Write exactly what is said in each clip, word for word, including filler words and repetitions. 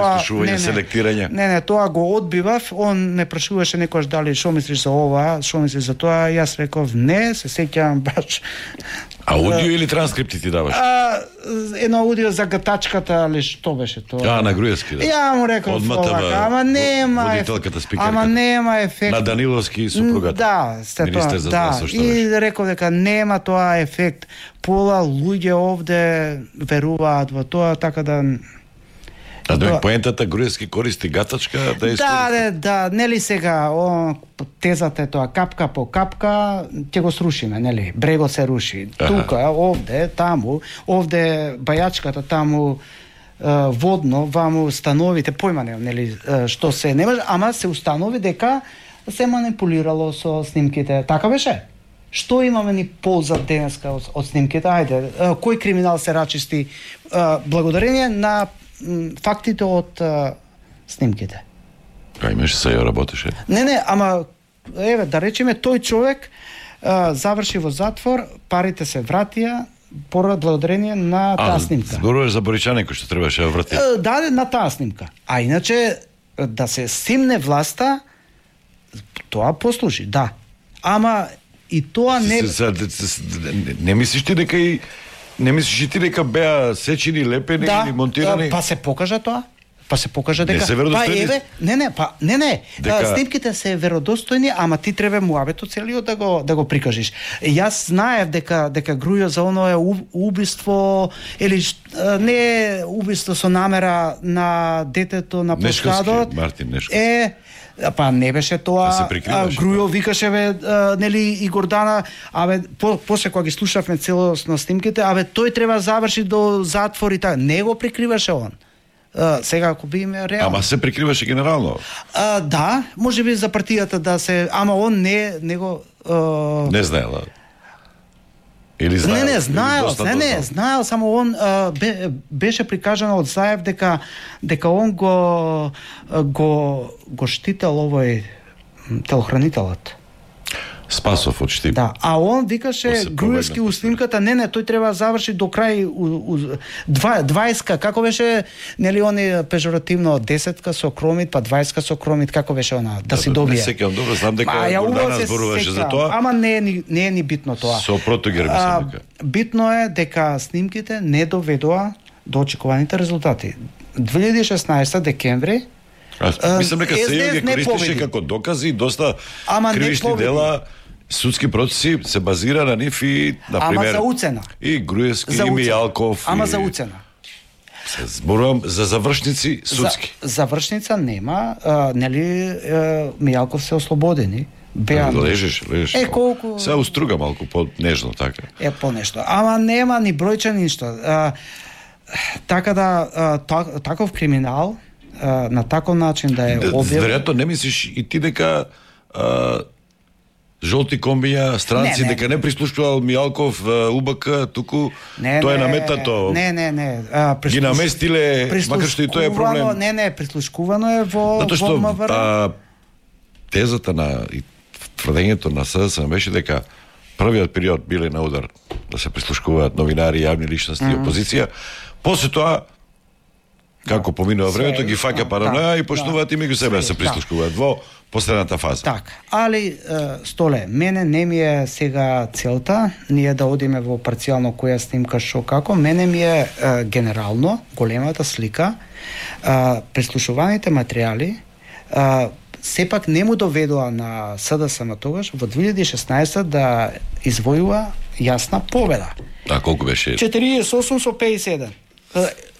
Слушување, селектирање. Не, не, тоа го одбивав, он ме прашуваше некојаш дали што мислиш за ова, што мислиш за тоа, јас реков не, се сеќавам баш. Аудио или транскрипти ти даваш? А, едно аудио за гатачката, али што беше тоа? А, на Груевски, да. Ја му реков овака, ама нема водителката, спикерката. Ама нема ефект. На Даниловски супругата. Да, сте тоа. Министер за да. здравство, што И беше. реков дека нема тоа ефект. Пола луѓе овде веруваат во тоа, така да. А да поентата Груевски користи гатачка да искористи. Да, да, да, нели сега о, тезата е тоа капка по капка ќе го срушиме, нели? Брегот се руши. Аха. Тука, овде, таму, овде бајачката, таму е, водно, ваму становите, појма немам, нели, е, што се не може, ама се установи дека се манипулирало со снимките. Така беше? Што имаме ни полза денеска од, од снимките? Ајде, е, кој криминал се рачисти е, благодарение на фактите од а, снимките. А имаш се ја работеше? Не, не, ама еве да речеме тој човек а, заврши во затвор, парите се вратија поради благодарение на таа а, снимка. Зборуваш за Боричанин кој што требаше да врати. А, да, на таа снимка. А иначе да се симне власта, тоа послужи, да. Ама и тоа не Се, се, се, не мислиш ти дека и Не мислиш и ти дека беа сечени, лепени да, или монтирани? па се покажа тоа. Па се покажа дека Не се веродостојни? Па еве, не, не, па не, не. Дека... Снимките се веродостојни, ама ти треба муабетот целиот да го да го прикажиш. Јас знаев дека дека Грујо за оно е убиство или не убиство со намера на детето на площадот. Мартин Нешковски. Е па не беше тоа. Да Грујо викаше бе, а, нели и Гордана, абе по, после кога ги слушавме целосно снимките, абе тој треба заврши до затвор и така. Не го прикриваше он. А, сега ако биме реално. Ама се прикриваше генерално. А, да, можеби за партијата да се, ама он не не го а... Не знаела. Или знаел? Не, не, знаел, доста, не, не, знаел, само он а, бе, беше прикажано од Заев дека дека он го го го штител овој телохранителот. Спасов од Штип. Да, а он викаше Груевски у снимката, не, не, тој треба да заврши до крај у, у, два, дваесетка, како беше, нели они пежоративно десетка со кромит, па дваесетка со кромит, како беше она, да, да си добие. Не сеќавам добро, знам дека Гордана зборуваше за тоа. Ама не е ни, не е ни битно тоа. Со протогер мислам дека. Битно е дека снимките не доведоа до очекуваните резултати. две илјади и шеснаесета декември А, мислам дека се ги користише како докази, доста Ама кривични дела, судски процеси се базира на нив и, например... Ама за уцена. И Груевски, и Мијалков. Ама и... за уцена. Се зборувам за завршници судски. За, завршница нема, а, нели Мијалков се ослободени. Беа... Лежиш, лежиш. Е, колку... Се уструга малку по-нежно, така. Е, по-нешто. Ама нема ни бројча, ништо. А, така да, а, та, таков криминал, а, на таков начин да е објавен... Веројатно не мислиш и ти дека а, жолти комбија, странци, не, не. дека не прислушувал Мијалков, УБК, туку не, тоа е не, наметнато. Не, не, не. А, прислуш... Ги наместиле, макар што и тоа е проблем. Не, не, прислушкувано е во Затоа што во МВР. а, тезата на и тврдењето на СДСМ беше дека првиот период биле на удар да се прислушкуваат новинари, јавни личности и опозиција. После тоа како поминува времето, ги фаќа параноја и почнуваат и меѓу себе да се прислушкуваат во последната фаза. Така, али Столе, мене не ми е сега целта ние да одиме во парцијално која снимка шо како, мене ми е генерално големата слика, прислушуваните материјали сепак не му доведоа на СДСМ тогаш во две илјади и шеснаесета да извојува јасна победа. А колку беше? четириесет и осум со пеесет и еден.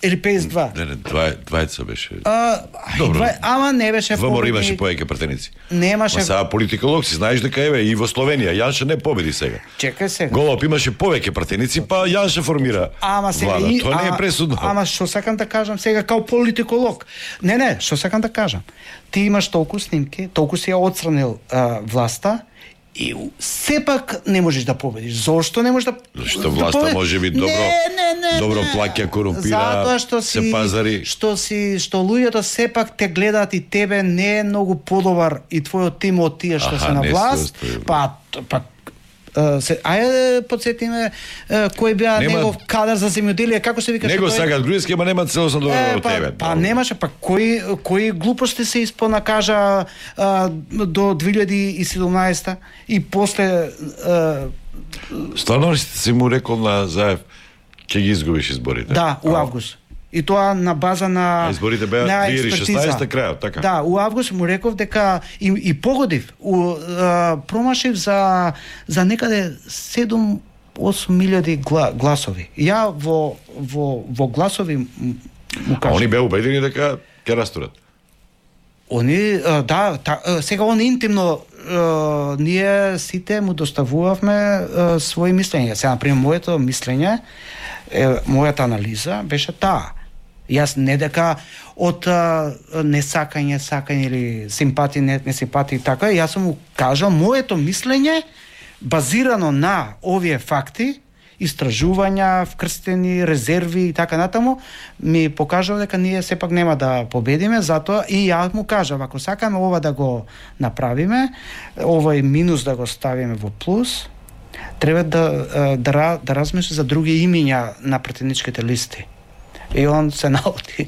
Или пеесет и два. Не, не, двајца беше. А, Добро. Два, ама не беше Во Мор победник. имаше поеќе пратеници. Немаше. Ма сега политиколог си знаеш дека еве и во Словенија Јанше не победи сега. Чекај сега. Голоп имаше повеќе пратеници, па Јанше формира. Ама сега влада. и, Тоа не е ама- пресудно. Ама што сакам да кажам сега као политиколог. Не, не, што сакам да кажам. Ти имаш толку снимки, толку си ја отстранил а, власта и сепак не можеш да победиш. Зошто не можеш да Зашто власта може би добро не, не, не, добро не. плаќа, корумпира, Затоа што си, се пазари. Што си што луѓето сепак те гледаат и тебе не е многу подобар и твојот тим од тие што Аха, се на не се власт, остави. па па се, ајде подсетиме кој беа Нема... негов кадар за земјоделие, како се викаше него тој? сакаат Груевски, ама нема целосно доверба во па, тебе. Па немаше, па кои кои глупости се исполна кажа а, до две илјади и седумнаесета и после а, стварно ли си му рекол на Заев ќе ги изгубиш изборите? Да, у август. И тоа на база на а изборите беа две илјади и шеснаесета крајот, така. Да, у август му реков дека и, и погодив, у, а, промашив за за некаде седум-осум илјади гла, гласови. Ја во во во гласови му кажа. А они беа убедени дека ќе растурат. Они а, да, та, сега он интимно а, ние сите му доставувавме а, своји мислења. Сега например моето мислење, е, мојата анализа беше таа. Јас не дека од а, несакање, сакање или симпатија, не, не симпатија и така, јас сум му кажал моето мислење базирано на овие факти, истражувања, вкрстени, резерви и така натаму, ми покажува дека ние сепак нема да победиме, затоа и ја му кажав, ако сакаме ова да го направиме, овој минус да го ставиме во плюс, треба да, да, да размисли за други имиња на претендничките листи. И он се наоти.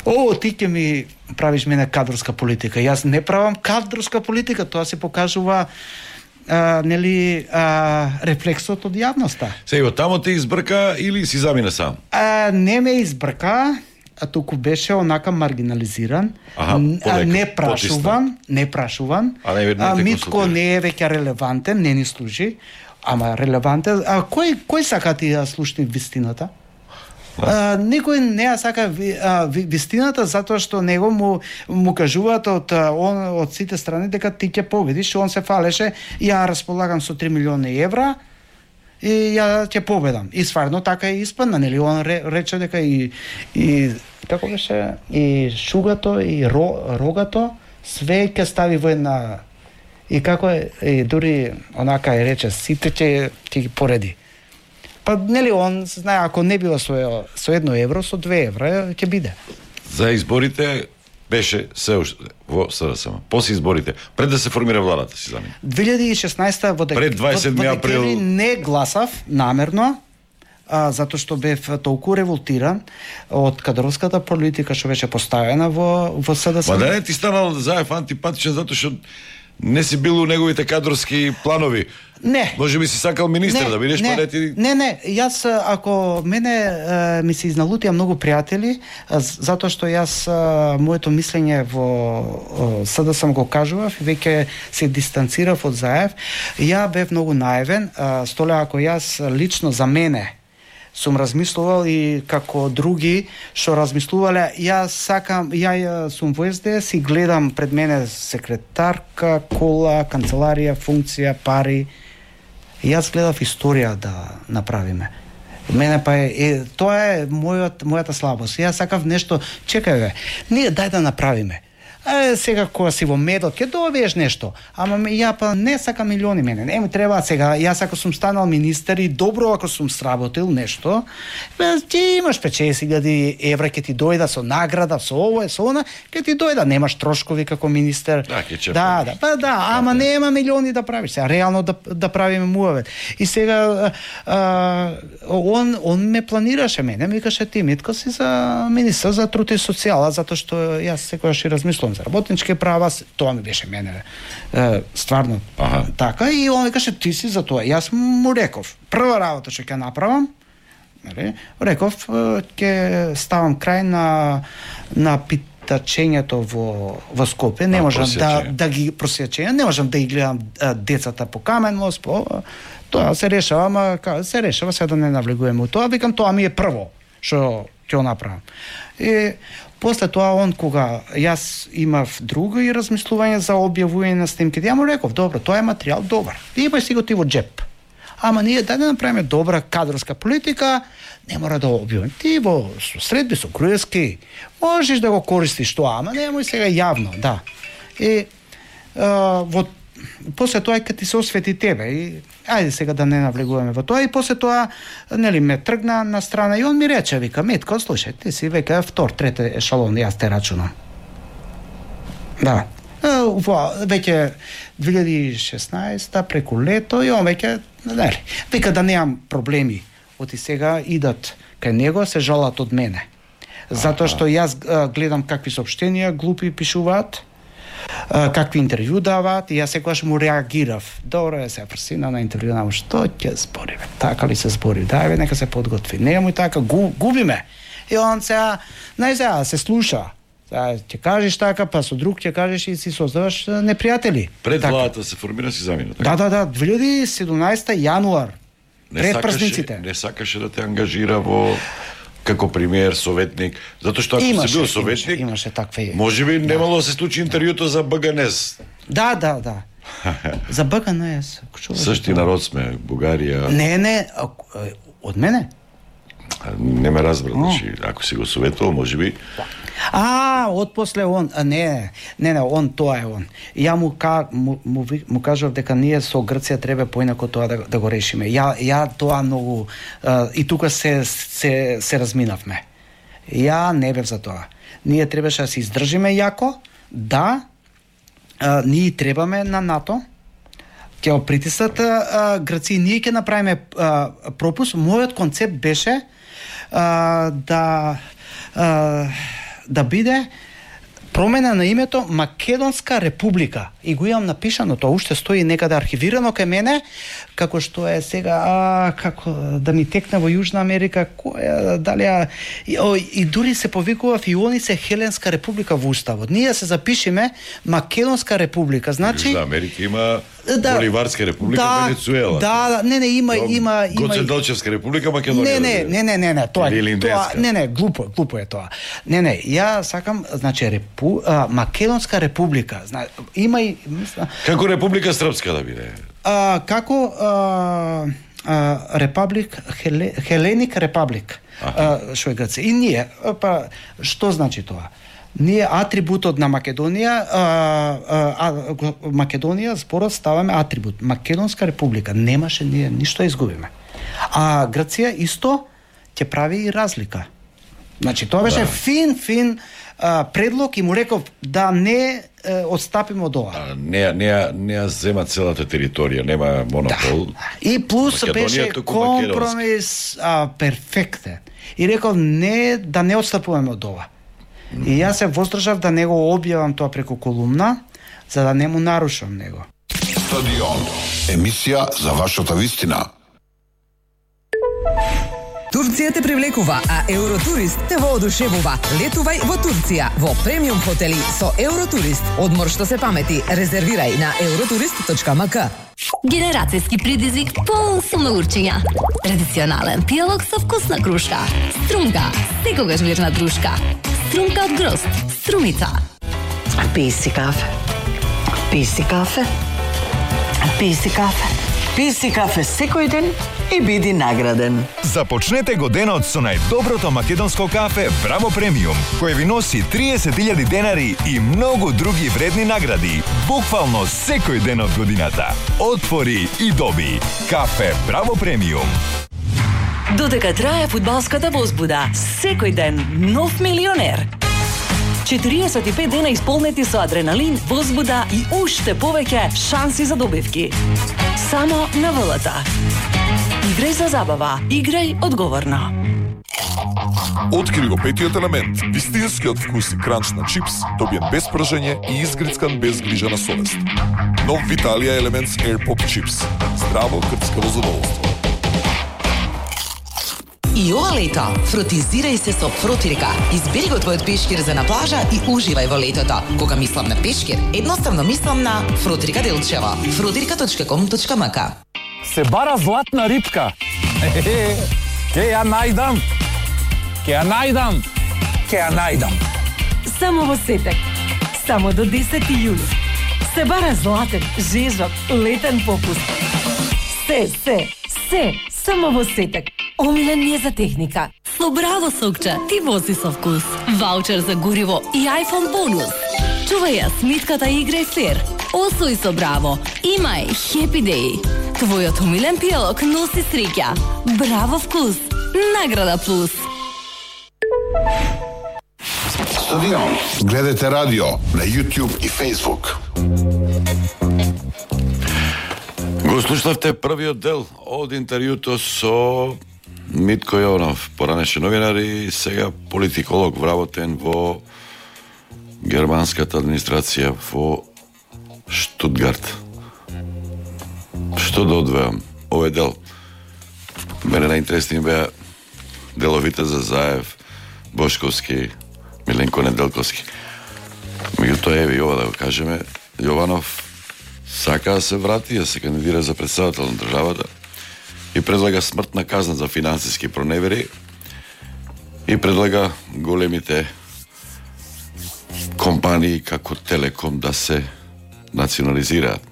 О, ти ќе ми правиш мене кадрска политика. Јас не правам кадрска политика, тоа се покажува а, нели а, рефлексот од јавноста. Сега тамо те избрка или си замина сам? А, не ме избрка, а туку беше онака маргинализиран, Аха, а, не прашуван, не прашуван. А, не, а Митко не е веќе релевантен, не ни служи, ама релевантен. А кој кој сака ти да слушни вистината? А, никој не ја сака ви, а, ви, вистината затоа што него му му кажуваат од он од сите страни дека ти ќе победиш, он се фалеше, ја располагам со три милиони евра и ја ќе победам. И стварно така е испадна, нели он рече дека и и како беше и шугато и ро, рогато све ќе стави во една и како е и дури онака е рече сите ќе ќе ги пореди. Па нели он знае ако не било со со едно евро, со две евра ќе биде. За изборите беше се уште во СДСМ. После изборите, пред да се формира владата, си замина. две илјади и шеснаесета во пред дваесет седми април не гласав намерно, а, затоа што бев толку револтиран од кадровската политика што беше поставена во во СДСМ. Ма да не ти станал Заев антипатичен затоа што не си бил у неговите кадровски планови. Не. Може би си сакал министер не, да бидеш, не, па не ти... Не, не, јас ако мене е, ми се изналутија многу пријатели, затоа што јас е, моето мислење во СДСМ го кажував и веќе се дистанцирав од Заев, ја бев многу наивен, столе ако јас лично за мене сум размислувал и како други што размислувале, јас сакам, ја сум во ес де ес и гледам пред мене секретарка, кола, канцеларија, функција, пари. Јас гледав историја да направиме. Мене па е, е тоа е мојот, мојата слабост. Јас сакав нешто, чекај бе, ние дај да направиме. А сега кога си во медот ќе добиеш нешто, ама ја па не сакам милиони мене, не ми треба сега, јас ако сум станал министер и добро ако сум сработил нешто, ти имаш петдесет илјади евра ќе ти дојда со награда, со ово, со она, ќе ти дојда, немаш трошкови како министер. Да, ќе да, да, па да, ама нема милиони да правиш, сега реално да да правиме муавет. И сега а, он он ме планираше мене, ми викаше ти Митко си за министер за труд и социјала, затоа што јас секогаш и размислувам за работнички права, тоа ми беше мене е, стварно ага. Така и он викаше ти си за тоа. Јас му реков, прва работа што ќе направам, нели, реков ќе ставам крај на на питачењето во во Скопје, не можам да да ги просјачења, не можам да ги гледам децата по Камен мост, по тоа се решава, ама се решава, сега да не навлегуваме у тоа, викам тоа ми е прво што ќе го направам. И после тоа он кога јас имав друго и размислување за објавување на снимките, ја му реков, добро, тоа е материјал добар. Имај си го ти во джеп. Ама ние дај да направиме добра кадровска политика, не мора да објавиме. Ти во средби со Груевски можеш да го користиш тоа, ама немој сега јавно, да. И а, во после тоа кога ти се освети тебе и ајде сега да не навлегуваме во тоа и после тоа нели ме тргна на страна и он ми рече, вика Митко, слушај, ти си века втор, трети ешалон, јас те рачунам. Да. во веќе две илјади и шеснаесета преку лето и он веќе, нели, вика да немам проблеми. Оти сега идат кај него, се жалат од мене. Затоа што јас а, гледам какви соопштенија глупи пишуваат, а, какви интервју даваат, и јас секогаш му реагирав. Добро е, се прсина на интервју, на што ќе збориме? Така ли се збори? Дај, нека се подготви. Немој така, гу, губиме. И он сега, нај сега, се слуша. Сега ќе кажеш така, па со друг ќе кажеш и си создаваш непријатели. Пред така. владата се формира си замина. Да, да, да, две илјади и седумнаесета јануар. Не Пред сакаше, празниците. не сакаше да те ангажира во како премиер, советник, затоа што ако Имаше, си бил советник, имаше, имаше такви. можеби немало да се случи интервјуто за БГНЕС. Да, да, да. За БГНЕС. Сашти народ сме, Бугарија. Не, не, а, од мене. Не ме разбра, значи, ако си го советувал, можеби. А, од после он, а, не, не, не, он, тоа е он. Ја му, ка, му, му, му кажав дека ние со Грција треба поинако тоа да, да го решиме. Ја, ја тоа многу, а, и тука се, се, се разминавме. Ја не бев за тоа. Ние требаше да се издржиме јако, да, а, ние требаме на НАТО, ќе го притиснат Грција, ние ќе направиме а, пропуск. Мојот концепт беше а, да а, да биде промена на името Македонска република. И го имам напишано, тоа уште стои некаде архивирано кај мене, како што е сега, а, како да ми текне во Јужна Америка, која, дали а, и, о, и дури се повикува Фионице Хеленска република во уставот. Ние се запишеме Македонска република, значи Јужна Америка има да, Боливарска република, да, Венецуела. Да, да, не, не, има, има, има. Гоце Делчевска република, Македонија. Не, не, не, не, не, не, тоа Или тоа, Инденска. не, не, глупо, глупо е тоа. Не, не, ја сакам, значи репу, а, Македонска република, зна, има и мисла, Како Република Српска да биде. а, како а, а, Репаблик Хеле, Хеленик Репаблик. А, што е Грција. И ние, па што значи тоа? Ние атрибутот на Македонија, а, а, Македонија зборот ставаме атрибут. Македонска република. Немаше ние ништо изгубиме. А Грција исто ќе прави и разлика. Значи тоа беше Да. фин фин а, предлог и му реков да не е, отстапиме од ова. А, не, не, не ја зема целата територија, нема монопол. И плюс Македонија беше туку компромис а, перфектен. И реков не да не отстапуваме од ова. И јас се воздржав да не го објавам тоа преку колумна, за да не му нарушам него. Стадион. Емисија за вашата вистина. Турција те привлекува, а Евротурист те воодушевува. Летувај во Турција во премиум хотели со Евротурист. Одмор што се памети. Резервирај на евротурист точка ем ка. Генерацијски предизвик полн со научења. Традиционален пијалок со вкусна крушка. Струмка, секогаш верна дружка. Струмка од грозд, струмица. Пи си кафе. Пи си кафе. Пи си кафе. Пи си кафе секој ден и биди награден. Започнете го денот со најдоброто македонско кафе Браво Премиум, кој ви носи триесет илјади денари и многу други вредни награди, буквално секој ден од годината. Отвори и доби. Кафе Браво Премиум. Додека трае фудбалската возбуда, секој ден нов милионер. четириесет и пет дена исполнети со адреналин, возбуда и уште повеќе шанси за добивки. Само на ВЛТ. Играј за забава, играј одговорно. Откри го петиот елемент, вистинскиот вкус и кранч на чипс, добиен без пржење и изгрицкан без грижа на совест. Нов Виталија Елементс Air Pop Chips. Здраво крцкаво задоволство. И ова лето, фротизирај се со Фротирка. Избери го твојот пешкир за на плажа и уживај во летото. Кога мислам на пешкир, едноставно мислам на Фротирка Делчево. фротирка точка ком точка ем ка. Се бара златна рибка. Ке ја најдам. Ке ја најдам. Ке ја најдам. Само во Сетек. Само до десети јули. Се бара златен, жежок, летен попуст. Се, се, се, само во Сетек. Омилен ми е за техника. Со Браво Сокче ти вози со вкус. Ваучер за гориво и iPhone бонус. Чувај ја сметката и играј фер. Освој со Браво. Имај Happy Day. Твојот омилен пијалок носи среќа. Браво вкус. Награда плюс. Стадион. Гледате радио на YouTube и Facebook. Го слушнавте првиот дел од интервјуто со Митко Јованов, поранеше новинар и сега политиколог вработен во германската администрација во Штутгарт. Што да одвеам? Овој дел мене најинтересни беа деловите за Заев, Бошковски, Миленко Неделковски. Меѓутоа, еве, ова да го кажеме, Јованов сака да се врати, да се кандидира за председател на државата и предлага смртна казна за финансиски проневери и предлага големите компании како Телеком да се национализираат.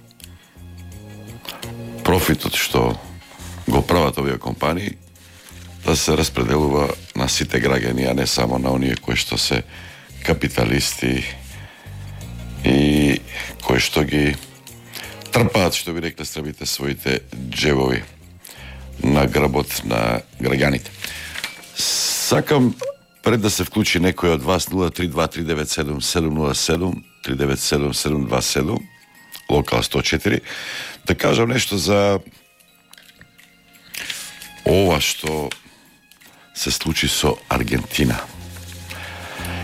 Профитот што го прават овие компании да се распределува на сите граѓани, а не само на оние кои што се капиталисти и кои што ги трпаат, што би рекле србите, своите джебови на гработ на граѓаните. Сакам пред да се вклучи некој од вас нула три два три девет седум седум нула седум три девет седум седум два седум локал сто четири да кажам нешто за ова што се случи со Аргентина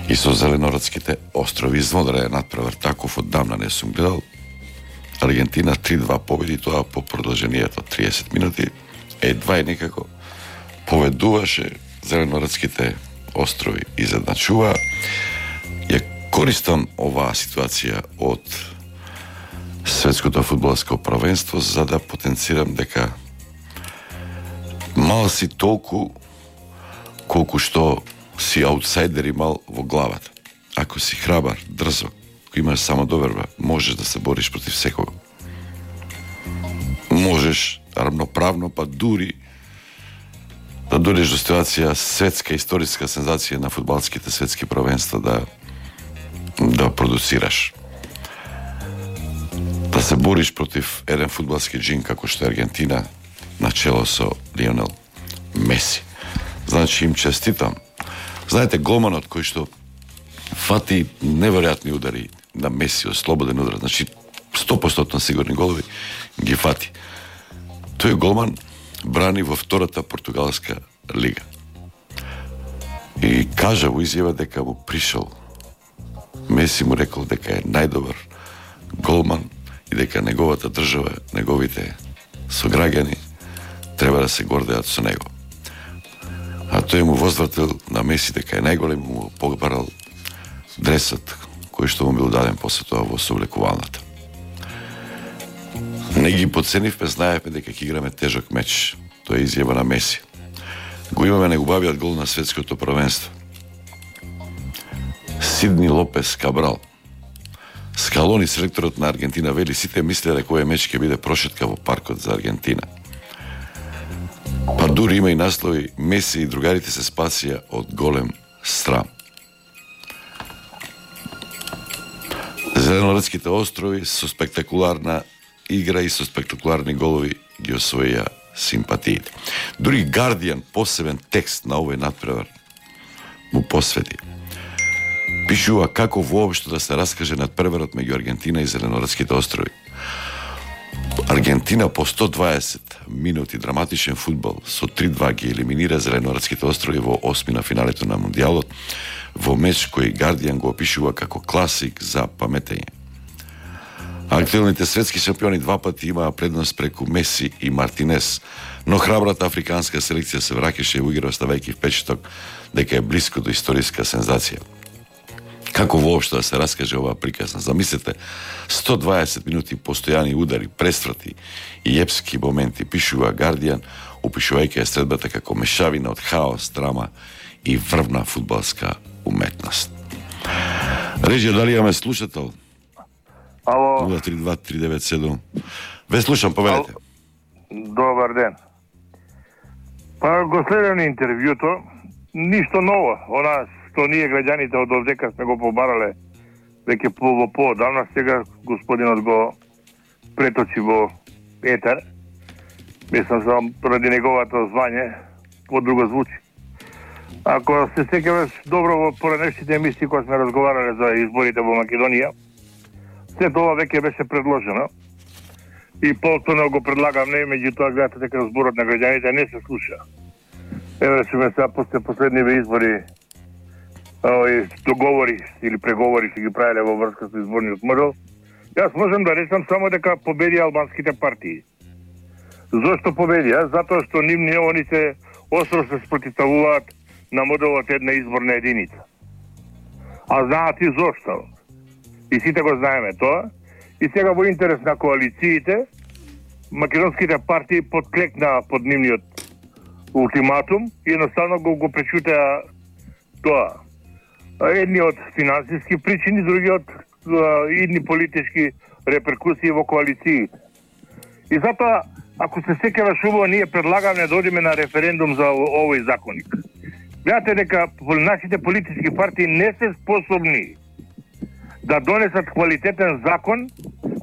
и со Зеленородските острови. Изводра е надпревар таков, оддавна не сум гледал. Аргентина три два победи, тоа по продолжението триесет минути. Едва и некако поведуваше, Зеленородските острови изедначува. Ја користам оваа ситуација од светското фудбалско првенство за да потенцирам дека мал си толку колку што си аутсайдер имал во главата. Ако си храбар, дрзок, ако имаш самодоверба, можеш да се бориш против секого. Можеш равноправно, па дури да дојдеш до ситуација светска историска сензација на фудбалските светски првенства да да продуцираш. Да се бориш против еден фудбалски джин како што е Аргентина на чело со Лионел Меси. Значи им честитам. Знаете, голманот кој што фати неверојатни удари на Меси, слободен удар, значи сто проценти сигурни голови, ги фати. Тој голман брани во втората португалска лига. И кажа во изјава дека му пришол. Меси му рекол дека е најдобар голман и дека неговата држава, неговите сограѓани треба да се гордеат со него. А тој му возвратил на Меси дека е најголем, му побарал дресот кој што му бил даден после тоа во соблекувалната. Не ги подценивме, знаевме дека ќе играме тежок меч. Тоа е изјава на Меси. Го имаме најубавиот гол на светското првенство. Сидни Лопес Кабрал. Скалони, селекторот на Аргентина, вели сите мислеа дека овој меч ќе биде прошетка во паркот за Аргентина. Па дури има и наслови Меси и другарите се спасија од голем срам. Зеленородските острови со спектакуларна игра и со спектакуларни голови ги освоија симпатиите. Дури Guardian посебен текст на овој надпревар му посвети. Пишува како воопшто да се раскаже надпреварот меѓу Аргентина и Зеленородските острови. Аргентина по сто дваесет минути драматичен фудбал со три два ги елиминира Зеленородските острови во осми на финалето на Мундијалот во меч кој Guardian го опишува како класик за паметење. Актуелните светски шампиони два пати имаа предност преку Меси и Мартинес, но храбрата африканска селекција се враќаше во игра оставајќи впечаток дека е блиско до историска сензација. Како воопшто да се раскаже оваа приказна? Замислете, сто дваесет минути постојани удари, пресврати и епски моменти, пишува Guardian, опишувајќи ја средбата како мешавина од хаос, драма и врвна фудбалска уметност. Режија, дали имаме слушател? Ало. нула три два три девет седум. Ве слушам, повелете. Добар ден. Па го следам интервјуто, ништо ново. Она што ние граѓаните од овдека сме го побарале веќе по во поодамна, сега господинот го преточи во етер. Мислам само поради неговото звање по друго звучи. Ако се сеќаваш добро во поранешните емисии кога сме разговарале за изборите во Македонија, се тоа веќе беше предложено. И повторно го предлагам, не, меѓутоа гледате дека зборот на граѓаните не се слуша. Еве што ме сега после последниве избори овој договори или преговори што ги правеле во врска со изборниот модел, јас можам да речам само дека победи албанските партии. Зошто победија? Затоа што нивни они се остро се спротивставуваат на моделот една изборна единица. А знаат и зошто. И сите го знаеме тоа. И сега во интерес на коалициите, македонските партии подклекнаа под нивниот ултиматум и едноставно го, го пречутеа тоа. Едни од финансиски причини, други од идни политички реперкусии во коалициите. И затоа, ако се сеќаваш убаво, ние предлагаме да одиме на референдум за овој законник. Гледате дека нашите политички партии не се способни да донесат квалитетен закон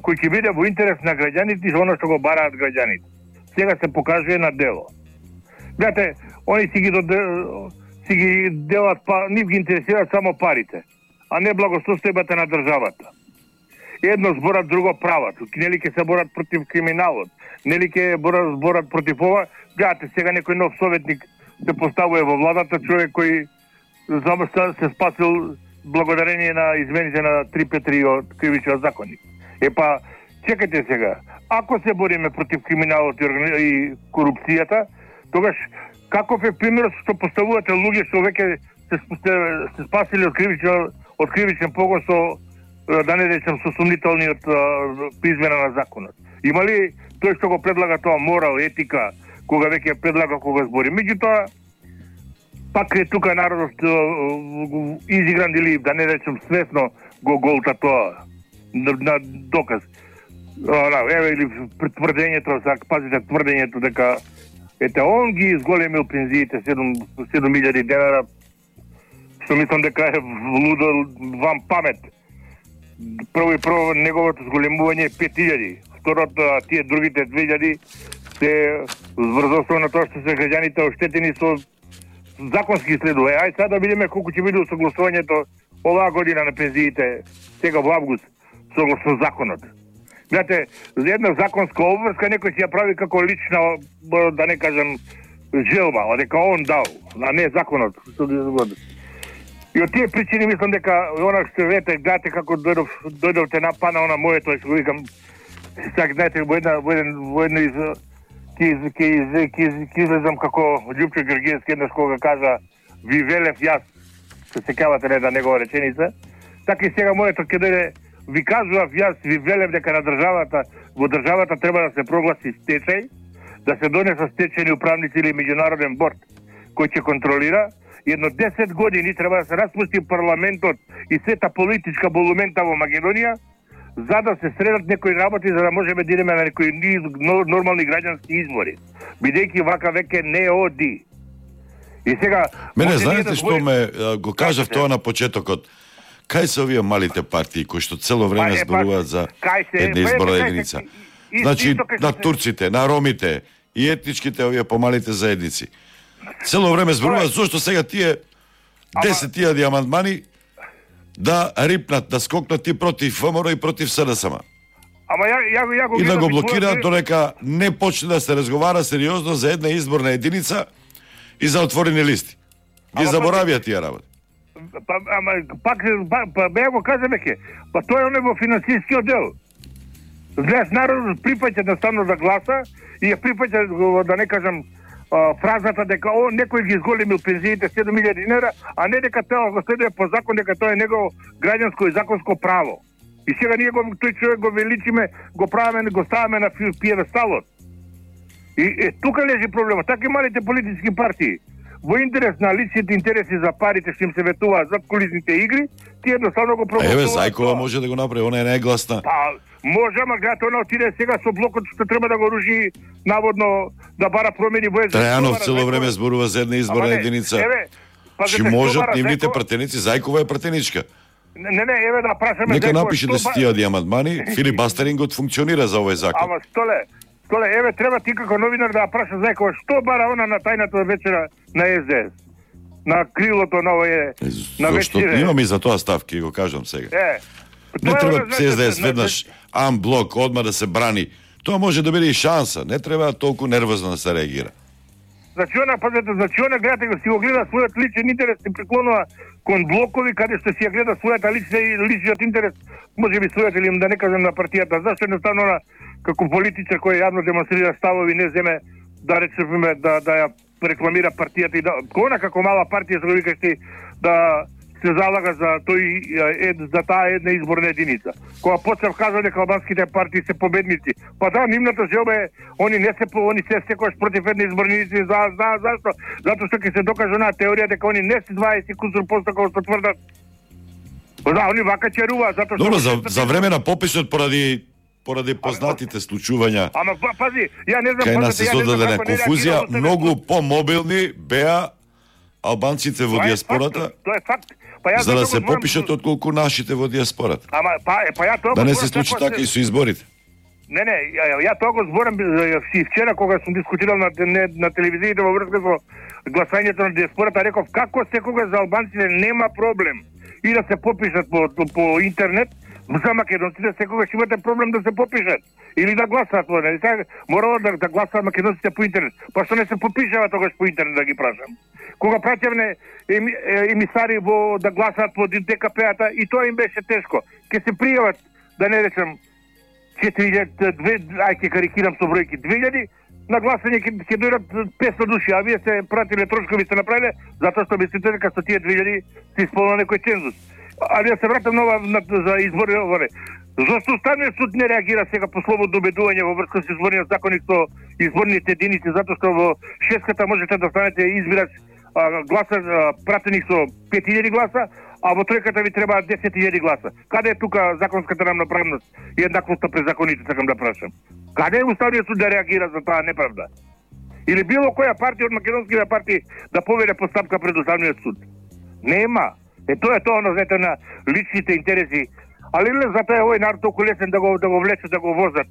кој ќе биде во интерес на граѓаните и оно што го бараат граѓаните. Сега се покажува на дело. Гледате, они си ги, доде, си ги делат, па, нив ги интересираат само парите, а не благосостојбата на државата. Едно зборат, друго прават. Нели ќе се борат против криминалот, нели ќе борат, борат против ова. Гледате, сега некој нов советник се поставува во владата, човек кој се спасил благодарение на измените на три пет три од кривичниот законник. Епа, чекайте сега, ако се бориме против криминалот и корупцијата, тогаш каков е примерот што поставувате луѓе што веќе се, се, се спасили од кривичен, од кривичен погон со, да не речем, со сумнителниот измена на законот? Има ли тој што го предлага тоа морал, етика, кога веќе предлага кога збори? Меѓутоа, пак е тука народот изигран или, да не речем, свесно го голта тоа на, на доказ. Еве или тврдењето, пазите тврдењето дека ете он ги изголемил пензиите седум илјади денара, што мислам дека е лудо вам памет. Прво и прво неговото зголемување е пет илјади. Второто, тие другите две илјади се врзостува на тоа што се граѓаните оштетени со законски следува. Ај сега да видиме колку ќе биде согласувањето оваа година на пензиите сега во август согласно законот. Знаете, за една законска обврска некој си ја прави како лична, да не кажам, желба, а дека он дал, а не законот. И од тие причини мислам дека она што вете, гледате како дојдов, дојдовте напана она моето, што го викам, сега знаете, во една, во еден, во едно из ќе излезам како Љупчо Георгиевски еднаш кога кажа ви велев јас, се сеќавате на една негова реченица, така и сега моето ќе дојде ви кажував јас, ви велев дека на државата, во државата треба да се прогласи стечај, да се донесат стечајни управници или меѓународен борд кој ќе контролира. Едно десет години треба да се распусти парламентот и сета политичка болумента во Македонија, за да се средат некои работи, за да можеме да идеме на некои нормални граѓански избори. Бидејќи вака веќе не оди. И сега... Мене, знаете што ме го кажав тоа на почетокот? Кај се овие малите партии кои што цело време зборуваат за една изборна единица? Значи, на турците, на ромите и етничките овие помалите заедници. Цело време зборуваат зошто сега тие десет илјади амандмани да рипнат, да скокнат и против ВМРО и против СДСМ. Ама ја, ја, ја го и да го гледам блокираат своја... додека не почне да се разговара сериозно за една изборна единица и за отворени листи. Ги заборавија тие работи. Па, ама, пак, па, па, ја го кажеме ке, па тоа е оне во финансискиот дел. Знаеш, народот припаќа едноставно да гласа и ја припаќа, да не кажам, фразата дека о, некој ги изголемил пензиите седум илјади динара, а не дека тоа го следува по закон, дека тоа е негово граѓанско и законско право. И сега ние го, тој човек го величиме, го правиме, го ставаме на пиедесталот. И е, тука лежи проблемот. Така и малите политички партии, во интерес на личните интереси за парите што им се ветуваат зад кулисните игри, тие едноставно го проголосуваат. Еве, Зајкова може да го направи, она е најгласна. Па, може, ама гледате, она отиде сега со блокот што треба да го руши, наводно да бара промени во език. Трајанов цело време зборува за една изборна единица. Еве, Чи можат нивните пратеници, Зајкова е пратеничка. Не, не, не, еве да прашаме Нека напише десет илјади амандмани, Филип Бастерингот функционира за овој закон. Ама столе, столе, еве треба ти како новинар да праша Зајкова што бара она на тајната вечера на Ес Де Ес. на крилото на овие на Зошто вечере. имам и за тоа ставки, го кажам сега. Е. Не тоа треба значи, се да е значи, веднаш амблок, одма да се брани. Тоа може да биде и шанса. Не треба толку нервозно да се реагира. Значи она, пазете, значи она гледате го си го гледа својот личен интерес и преклонува кон блокови каде што си ја гледа својата лична и личниот интерес, може би својот или да не кажам на партијата. Зашто едноставно она како политичар кој јавно демонстрира ставови не земе да речеме да да ја рекламира партијата и да она како мала партија што го викаш ти да се залага за тој е, за таа една изборна единица. Кога почнав кажа дека албанските партии се победници, па да, нивната желба е они не се они се секогаш против една изборна единица. За, за, зашто? Затоа што ќе се докаже онаа теорија дека они не се дваесет кусур посто како што тврдат. Да, они вака черува затоа што Добро, за, за време на пописот поради поради познатите случувања. Ама пази, ја не знам кај нас пазите, се ја не знам создадена како не конфузија, реагирало многу помобилни беа албанците во Тоа е диаспората, факт, Тоа е факт. Па јас за да затоа се го зборам- попишат отколку нашите во диаспората. Ама па е, па ја тоа Да го не зборам се случи како така и со изборите. Не, не, ја, ја тоа го зборам е, си вчера кога сум дискутирал на не, на телевизиите во врска со гласањето на диаспората, реков како секогаш за албанците нема проблем и да се попишат по, по интернет, за македонците секогаш имате проблем да се попишат или да гласаат, нели така? Морало да, да гласаат македонците по интернет. Па што не се попишава тогаш по интернет да ги прашам? Кога праќавне еми, емисари во да гласаат по ДКП-ата и тоа им беше тешко. Ке се пријават, да не речем четири илјади, ај ке карикирам со бројки, две илјади, на гласање ќе ќе дојдат петстотини души, а вие се пратиле трошкови сте направиле затоа што мислите дека со тие две илјади се исполнува некој цензус. А ја се вратам нова на, за избори оворе. Зошто Уставниот суд не реагира сега по слободно убедување во врска со изборниот законник со изборните единици, затоа што во шеската можете да станете избирач а, гласа а, пратеник со пет илјади гласа, а во тројката ви треба десет илјади гласа. Каде е тука законската рамноправност и еднаквоста пред законите, сакам да прашам? Каде е Уставниот суд да реагира за таа неправда? Или било која партија од македонските партии да поведе постапка пред Уставниот суд? Нема. Е тоа е тоа, оно, знаете, на личните интереси. Али не затоа е овој народ толку лесен да го да го влечат, да го возат.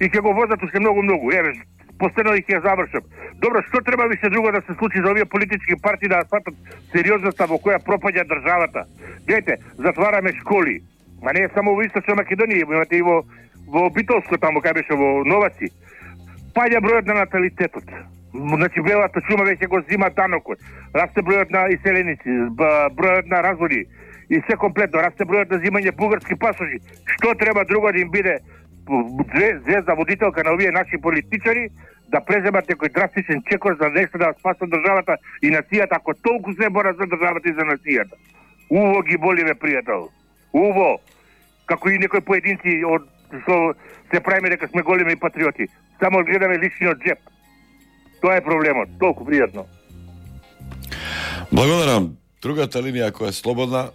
И ќе го возат уште многу многу. Еве, постено и ќе завршам. Добро, што треба више друго да се случи за овие политички партии да сватат сериозноста во која пропаѓа државата? Гледайте, затвараме школи. Ма не е само во Источна Македонија, имате и во во Битолско таму кај беше во Новаци. Паѓа бројот на наталитетот. Значи белата чума веќе го зима данокот. Расте бројот на иселеници, бројот на разводи и се комплетно. Расте бројот на зимање бугарски пасоши. Што треба друго да им биде звезда водителка на овие наши политичари да преземат некој драстичен чекор за нешто да спасат државата и нацијата, ако толку се борат за државата и за нацијата. Уво ги боли, ме пријател. Уво. Како и некои поединци од што се правиме дека сме големи патриоти. Само гледаме личниот джеп. Тоа е проблемот. Толку пријатно. Благодарам. Другата линија која е слободна,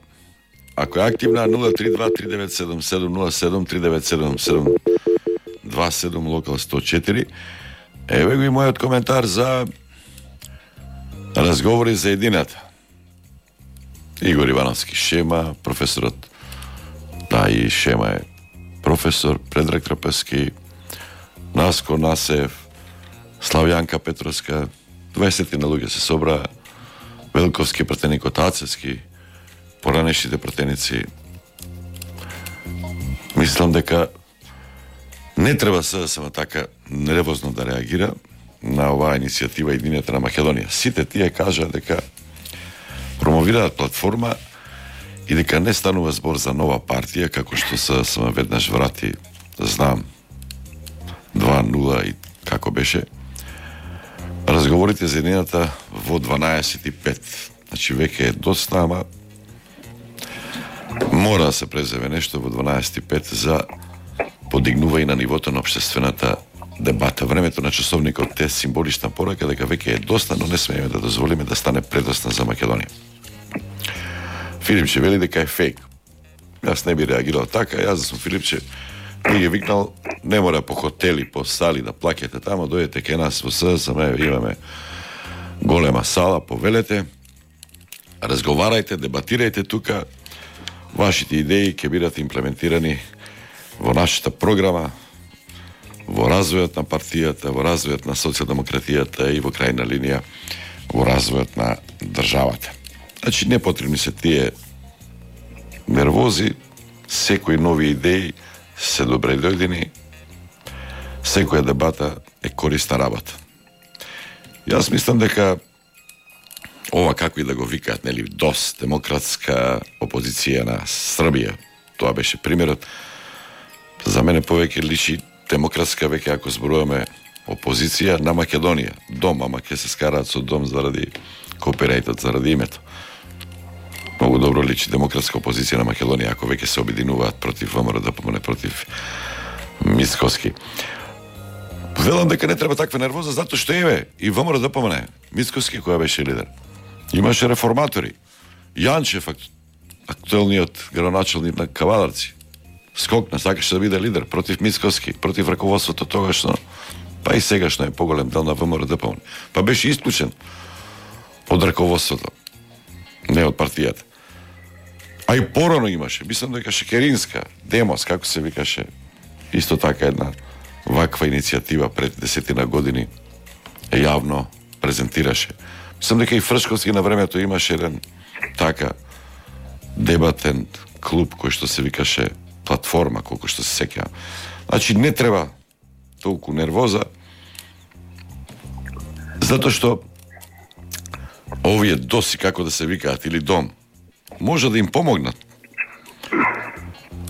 ако е активна, нула три два три девет седум седум нула седум три девет седум седум два седум локал сто четири. Еве го и мојот коментар за разговори за едината. Игор Ивановски Шема, професорот, да, и Шема е професор, Предраг Трапески, Наско Насев, Славјанка Петровска, дваесет на луѓе се собраа, Велковски пратеник од Ацевски, поранешните пратеници. Мислам дека не треба СДСМ така нервозно да реагира на оваа иницијатива Единијата на Македонија. Сите тие кажа дека промовираат платформа и дека не станува збор за нова партија, како што СДСМ веднаш врати, знам, два нула и како беше. Разговорите за едината во дванаесет и пет. Значи веќе е доста, ама мора да се преземе нешто во дванаесет и пет за подигнување на нивото на општествената дебата. Времето на часовникот е символична порака дека веќе е доста, но не смееме да дозволиме да стане предоста за Македонија. Филипче вели дека е фейк. Јас не би реагирал така, јас да сум Филипче, би ги викнал, не мора по хотели, по сали да плакете тамо, дојдете кај нас во СДСМ, имаме голема сала, повелете, разговарајте, дебатирајте тука, вашите идеи ќе бидат имплементирани во нашата програма, во развојот на партијата, во развојот на социјалдемократијата и во крајна линија во развојот на државата. Значи, не потребни се тие нервози, секои нови идеи се добре дојдени, секоја дебата е корисна работа. Јас мислам дека ова, како и да го викаат, нели, ДОС, демократска опозиција на Србија, тоа беше примерот, за мене повеќе личи демократска веќе ако зборуваме опозиција на Македонија. Дом, ама ќе се скараат со дом заради копирајтот, заради името. Многу добро личи демократска опозиција на Македонија ако веќе се обединуваат против ВМРО да помне против Мицкоски. Велам дека не треба таква нервоза, затоа што еве и ВМРО да помне Мицкоски која беше лидер. Имаше реформатори. Јанчев, актуелниот градоначалник на Кавадарци, скокна, сакаше да биде лидер против Мицкоски, против раководството тогашно, па и сегашно е поголем дел на ВМРО да помне. Па беше исклучен од раководството, не од партијата. А и порано имаше, мислам дека Шекеринска, Демос, како се викаше, исто така една ваква иницијатива пред десетина години јавно презентираше. Мислам дека и Фршковски на времето имаше еден така дебатен клуб кој што се викаше Платформа, колку што се сеќавам. Значи не треба толку нервоза, затоа што овие доси, како да се викаат, или дом, може да им помогнат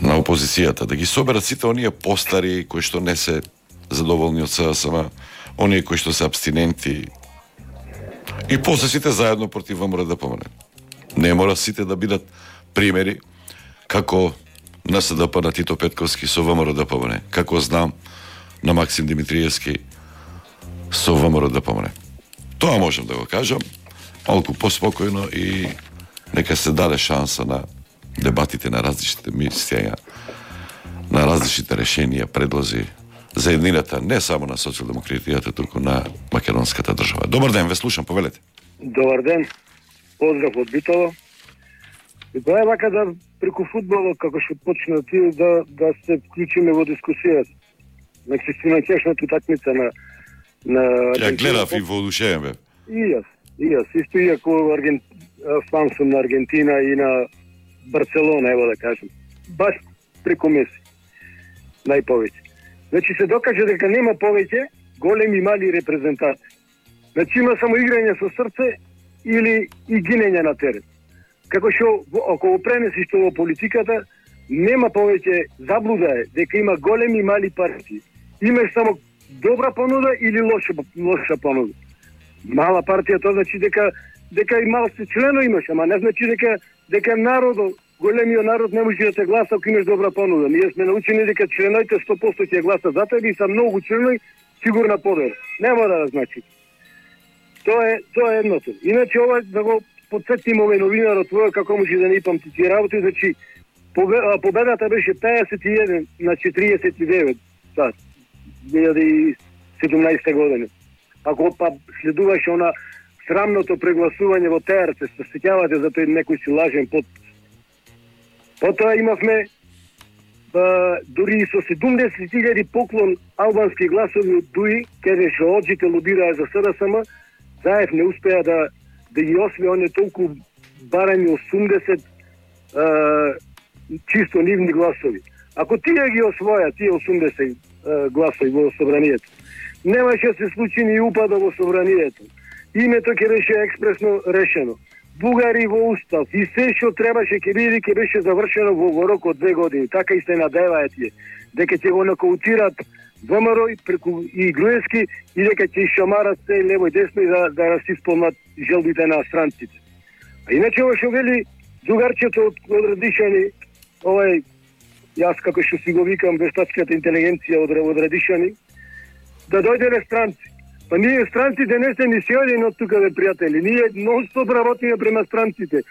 на опозицијата, да ги соберат сите оние постари кои што не се задоволни од СДСМ, оние кои што се абстиненти, и после сите заедно против ВМРО да помогнат. Не мора сите да бидат примери како на СДП на Тито Петковски со ВМРО да помогне, како знам на Максим Димитриевски со ВМРО да помогне. Тоа можам да го кажам, малку поспокојно и нека се даде шанса на дебатите на различните мислења, на различните решенија, предлози за еднината не само на социјалдемократијата, туку на македонската држава. Добар ден, ве слушам, повелете. Добар ден, поздрав од Битово. И тоа е вака да преку фудбалот, како што почна ти, да, да се вклучиме во дискусијата. Значи, си на чешната такмица на... на Ја гледав и воодушевен бе. И јас, и јас. Исто и ако Арген... фан сум на Аргентина и на Барселона, ево да кажем. Баш преку Меси. Најповеќе. Значи се докаже дека нема повеќе големи мали репрезентации. Значи има само играње со срце или и гинење на терен. Како што ако го пренесиш тоа во политиката, нема повеќе заблуда е дека има големи и мали партии. Имаш само добра понуда или лоша лоша понуда. Мала партија тоа значи дека дека и мал се члено имаш, ама не значи дека дека народот, големиот народ не може да те гласа ако имаш добра понуда. Ние сме научени дека членоите сто проценти ќе гласат за тебе и са многу членои сигурна победа. Нема да значи. Тоа е тоа е едното. Иначе ова да го потсетим овој новинарот твој како може да не ипамти тие работи, значи победата беше пеесет и еден на четириесет и девет, да, две илјади и седумнаесета година. Ако па следуваше она срамното прегласување во Т Р Ц, се сеќавате за тој некој си лажен подпис. Потоа имавме а, дури со седумдесет илјади поклон албански гласови од Дуи, каде што оџите лобираа за СДСМ, Заев не успеа да да ги освои оние толку барање осумдесет а, чисто нивни гласови. Ако тие ги освоја, тие осумдесет а, гласови во собранието, немаше да се случи ни упада во собранието. Името ќе беше експресно решено. Бугари во устав и се што требаше ќе биде ќе беше завршено во, во рок од две години. Така и се надеваат тие дека ќе го нокаутират ВМРО и преку и Груевски и дека ќе шамарат се лево и десно и да да расисполнат желбите на странците. А иначе ова што вели другарчето од, од Радишани, овај јас како што си го викам вештачката интелигенција од, од Радишани, да дојде странци. Па ние странците не се ни сеодени од тука, бе, пријатели. Ние нон-стоп работиме према странците.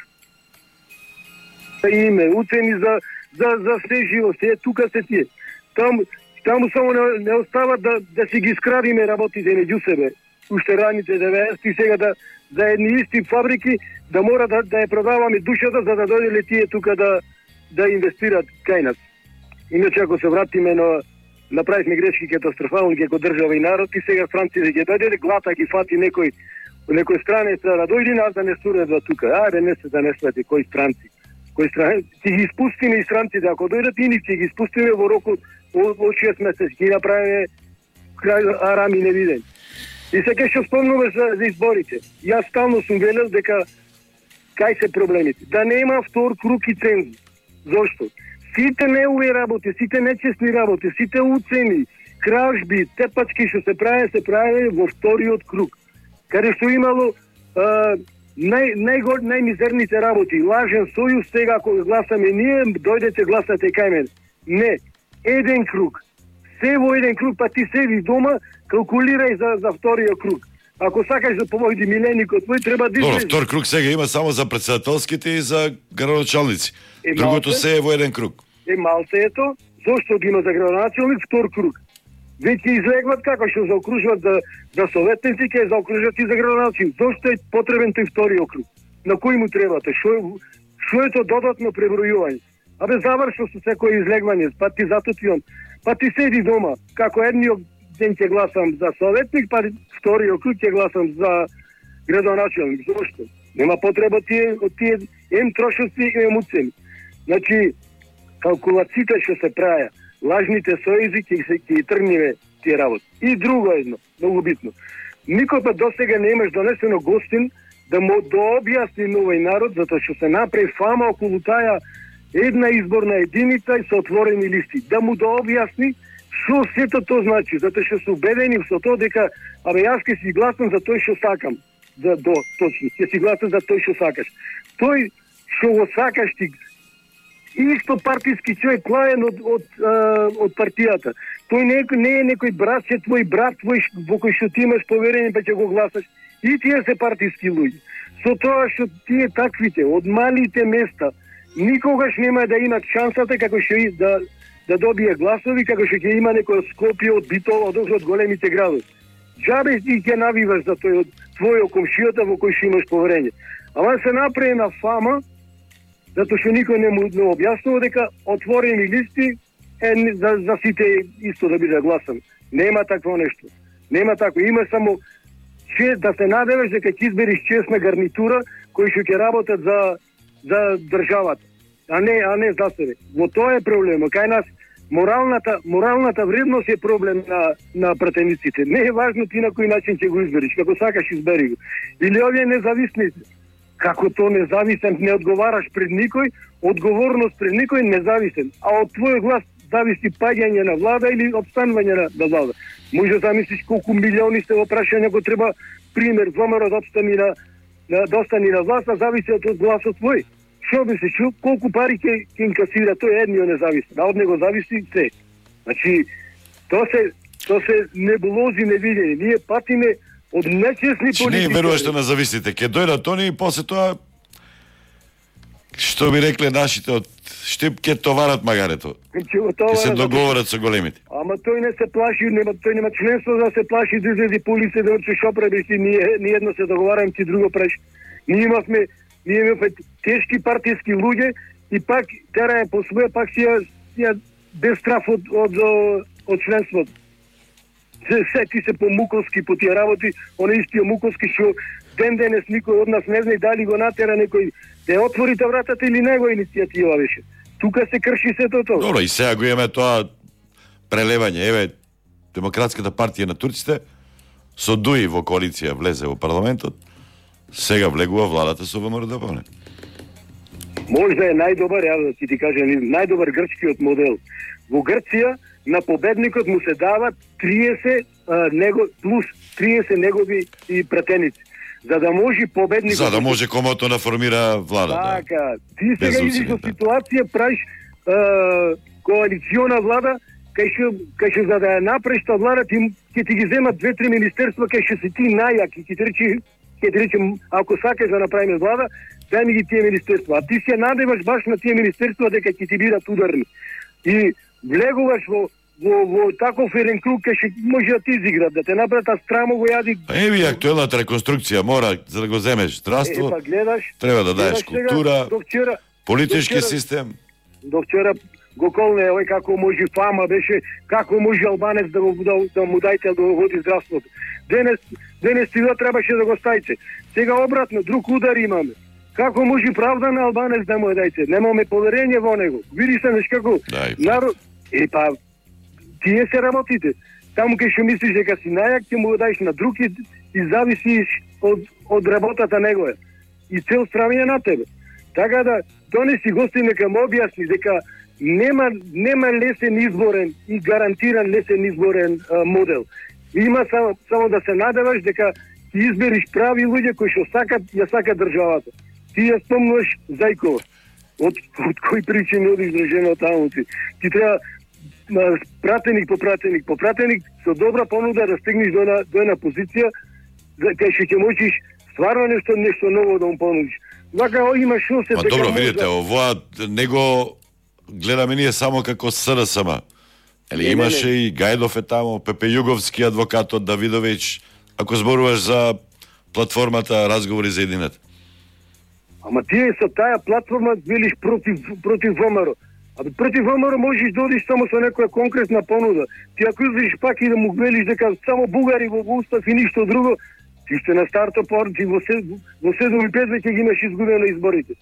Име, уцени за, за, за се живо, се тука се тие. Там, таму само не, не остава да, да си ги скрадиме работите меѓу себе. Уште раните деветдесети сега да за едни исти фабрики да мора да, да ја продаваме душата за да дојделе тие тука да, да инвестират кај нас. Иначе ако се вратиме на направивме грешки катастрофални како држава и народ и сега Франција ќе дојде глата ги фати некој некој странец да дојди нас да не суредва тука. Ајде не се да не свати кои странци. Кои странци ќе ги испустиме и странците, ако дојдат и нив ќе ги испустиме во рокот од шест месеци, ќе направиме крај арами невиден. И сега ќе спомнуваш за, за изборите. Јас стално сум велел дека кај се проблемите. Да нема втор круг и цензус. Зошто? Сите неуви работи, сите нечестни работи, сите уцени, кражби, тепачки што се прави, се прави во вториот круг. Каде што имало а, нај, најгор, најмизерните работи. Лажен сојуз, сега ако гласаме ние, дојдете гласате кај мен. Не. Еден круг. Се во еден круг, па ти седи дома, калкулирај за, за вториот круг. Ако сакаш да победи миленикот твој, треба да излезеш. Добро, втор круг сега има само за председателските и за градоначалници. Е, Другото малце, се е во еден круг. Е, малце ето, зошто ги има за градоначалник втор круг? Веќе излегват како што заокружуват за, за советници, ќе заокружат и за градоначалник. Зошто е потребен тој вториот круг? На кој му требате? Шо, шо е то додатно пребројување? Абе, завршо со секој излегвање, па ти зато ти он. Па ти седи дома, како едниот ден ќе гласам за советник, па вториот круг ќе гласам за градоначалник. Зошто? Нема потреба тие од тие ем трошоци и ем уцени. Значи, калкулациите што се праја, лажните сојузи ќе се ќе тргнеме тие работи. И друго едно, многу битно. Никој па досега не имаш донесено гостин да му дообјасни на овој народ, затоа што се направи фама околу таа една изборна единица и со отворени листи. Да му дообјасни што сето тоа значи, затоа што се убедени со тоа дека абе јас ќе си гласам за тој што сакам. За до точно, ќе си гласам за тој што сакаш. Тој што го сакаш ти исто партиски човек клаен од од од партијата. Тој не, не е некој брат, че твој брат твој во кој што ти имаш поверение па ќе го гласаш. И тие се партиски луѓе. Со тоа што тие таквите од малите места никогаш нема да имат шансата како што и да да добие гласови, како што ќе има некој Скопје од Битола, од од големите градови. Џабе ти ќе навиваш за тој од твојот комшијата во кој што имаш поверение. Ама се направи на фама, затоа што никој не му не објаснува дека отворени листи е за, за сите исто да биде гласан. Нема такво нешто. Нема такво. Има само че да се надеваш дека ќе избереш честна гарнитура кои што ќе работат за за државата, а не а не за себе. Во тоа е проблемот. Кај нас моралната моралната вредност е проблем на на пратениците. Не е важно ти на кој начин ќе го избереш, како сакаш избери го. Или овие независни, како то независен, не одговараш пред никој, одговорност пред никој независен, а од твој глас зависи паѓање на влада или обстанување на, на влада. Може да замислиш колку милиони сте во прашање го треба пример ВМРО да обстани на да достани на власт, а зависи од гласот твој. Што мислиш, колку пари ќе ќе инкасира тој едниот независен, а од него зависи се. Значи, тоа се тоа се небулози невидени. Ние патиме од нечестни политики. Че не веруваш на зависите, ќе дојдат они и после тоа што би рекле нашите од Штип ќе товарат магарето. Ќе се договорат со големите. Ама тој не се плаши, нема тој нема членство да се плаши да излези полиция да учи шо правиш ти, ние ние едно се договараме, ти друго правиш. Ние имавме ние имавме тешки партиски луѓе и пак терае по своја пак си ја, ја без страф од од од членството. Се сети се по Муковски по тие работи, оне истиот Муковски што ден денес никој од нас не знае дали го натера некој да отворите вратата или него иницијатива беше. Тука се крши сето тоа. Добро, и сега го имаме тоа прелевање. Еве, Демократската партија на турците со ДУИ во коалиција влезе во парламентот, сега влегува владата со ВМРО-ДПМНЕ. Можда е најдобар, ја да ти ти кажам, најдобар грчкиот модел. Во Грција на победникот му се дават триесет а, него плюс триесет негови и пратеници. За да може победникот... За да може комото да формира влада. Така, да. Ти сега идиш во ситуација, правиш е, коалициона влада, кај што кај што за да ја направиш таа влада, ти ќе ти ги земат две-три министерства, кај што си ти најак, ќе ти речи, ќе ти речи, ако сакаш да направиме влада, дај ми ги тие министерства. А ти се надеваш баш на тие министерства дека ќе ти бидат ударни. И влегуваш во во во таков еден круг кај што може да ти изиграт, да те направат, а страмо го јади. Еви актуелната реконструкција мора за да го земеш здравство. Е, па гледаш, треба да даеш култура, до вчера, политички до вчера, систем. До вчера го колне, овој како може фама беше, како може албанец да, го, да, да му дајте да го води здравството. Денес, денес тива требаше да го стајте. Сега обратно, друг удар имаме. Како може правда на албанец да му ја дајте? Немаме поверење во него. Види се неш како народ... Е, па, тие се работите. Таму кај што мислиш дека си најак, ќе му го дајш на друг и, и зависиш од, од работата негова. И цел стравиње на тебе. Така да, донеси гости нека му објасни дека нема, нема лесен изборен и гарантиран лесен изборен а, модел. Има само, само да се надеваш дека ти избериш прави луѓе кои што сакат, ја сакат државата. Ти ја спомнуваш Зајкова. Од, од кои причини одиш до жена таму ти. Ти треба пратеник по пратеник по пратеник со добра понуда да стигнеш до една, до една позиција кај што ќе можеш стварно нешто нешто ново да му понудиш. Вака има шансе дека добро, видите, ова него гледаме ние само како СРСМ. Ели имаше не, не. И Гајдов е тамо, Пепе Југовски, адвокатот Давидовиќ, ако зборуваш за платформата Разговори за единет. Ама тие со таа платформа велиш против против ВМРО. А против ВМРО можеш да одиш само со некоја конкретна понуда. Ти ако излезеш пак и да му велиш дека само бугари во устав и ништо друго, ти ще на старто порти во седум и пет веќе ги имаш изгубено изборите.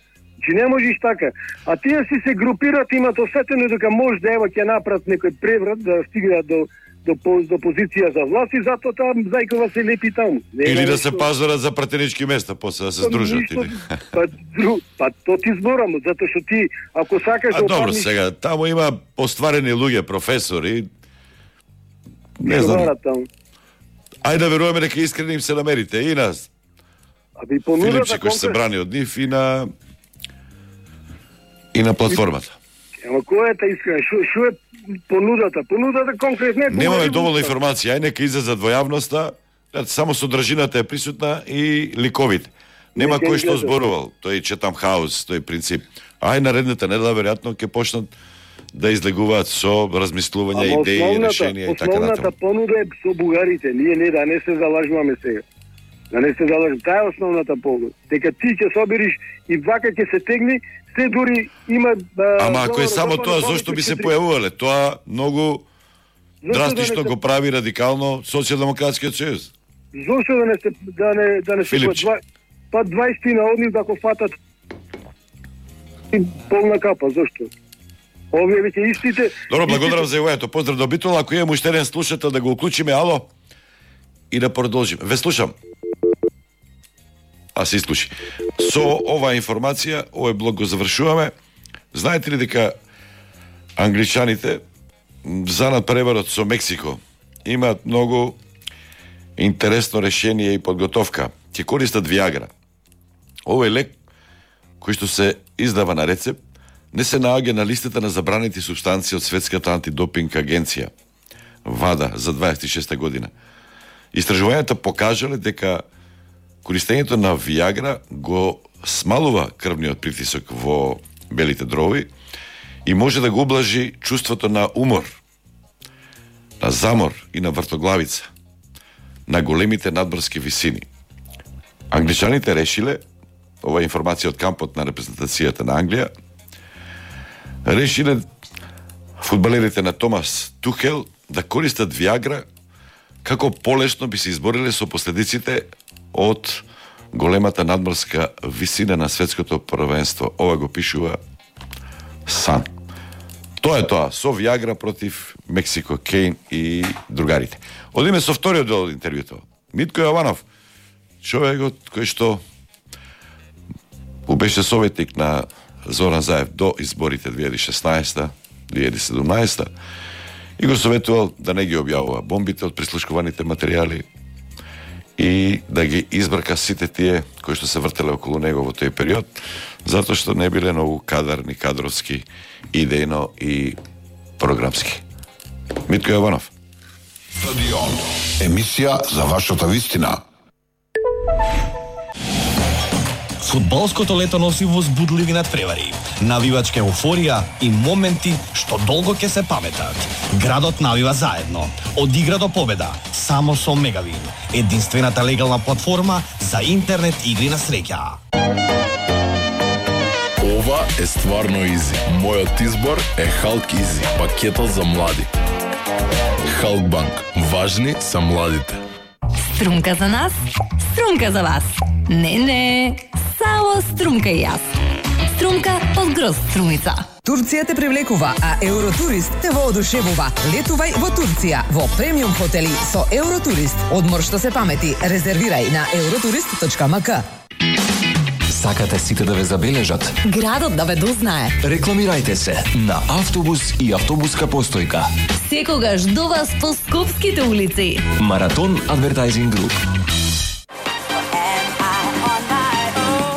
Че не можеш така. А тие си се групираат, имат осетено дека може да ева ќе направат некој преврат да стигнат до до, до позиција за власт и затоа таа Зајкова се лепи таму. Не или да се пазарат за пратенички места, после да се здружат. Ништо, или... па, дру, па то ти зборам, затоа што ти ако сакаш а, да добро, опарниш... сега таму има постварени луѓе, професори. Не знам. Ајде да веруваме дека искрено им се намерите и нас. Аби понудата Филипче кој се брани од нив и на и на платформата. Ама која е та искрена? Шо, шо е понудата? Понудата конкретно е... Немаме доволно информација, ај нека излезат во јавноста, само содржината е присутна и ликовите. Нема кој што зборувал, тој Четам Хаус, тој принцип. Ај наредната недела веројатно ќе почнат да излегуваат со размислувања, идеи, решенија и така натаму. Основната понуда е со бугарите, ние не да не се залажуваме сега. Да не се залажуваме, таа е основната понуда. Дека ти ќе собериш и вака ќе се тегни, се дури има... Да, ама ако е само тоа, зошто би се појавувале? Тоа многу драстично го прави радикално Социјалдемократскиот сојуз. Зошто да не се да не да не се па дваесет на однив да го фатат полна капа, зошто? Овие веќе истите... Добро, благодарам за јавањето. Поздрав до Битол. Ако имам уште еден слушател да го уклучиме, ало, и да продолжим. Ве слушам. А се слуши. Со оваа информација, овој блок го завршуваме. Знаете ли дека англичаните занад преварот со Мексико имаат многу интересно решение и подготовка. Ќе користат Виагра. Овој лек кој што се издава на рецепт не се наоѓа на листата на забранети супстанции од Светската антидопинг агенција ВАДА за дваесет и шеста година. Истражувањата покажале дека користењето на Виагра го смалува крвниот притисок во белите дрови и може да го ублажи чувството на умор, на замор и на вртоглавица на големите надморски висини. Англичаните решиле, ова е информација од кампот на репрезентацијата на Англија, решиле фудбалерите на Томас Тухел да користат Виагра како полесно би се избориле со последиците од големата надморска висина на светското првенство. Ова го пишува Сан. Тоа е тоа, со Виагра против Мексико, Кейн и другарите. Одиме со вториот дел од интервјуто. Митко Јованов, човекот кој што беше советник на Зоран Заев до изборите две илјади и шеснаесета две илјади и седумнаесета и го советувал да не ги објавува бомбите од прислушкуваните материјали и да ги избрка сите тие кои што се вртеле околу него во тој период, затоа што не биле многу кадарни, кадровски, идејно и програмски. Митко Јованов. Стадион. Емисија за вашата вистина. Фудбалското лето носи возбудливи надпревари, навивачка еуфорија и моменти што долго ќе се паметат. Градот навива заедно. Од игра до победа, само со Мегавин, единствената легална платформа за интернет игри на среќа. Ова е стварно изи. Мојот избор е Халк Изи, пакетот за млади. Халкбанк. Важни са младите. Струмка за нас, струмка за вас. Не, не, само струмка и јас. Струмка од Гроз Струмица. Турција те привлекува, а Евротурист те воодушевува. Летувај во Турција во премиум хотели со Евротурист. Одмор што се памети. Резервирај на евротурист точка ем ка. Сакате сите да ве забележат? Градот да ве дознае. Рекламирајте се на автобус и автобуска постојка. Секогаш до вас по скопските улици. Маратон Адвертайзинг Груп.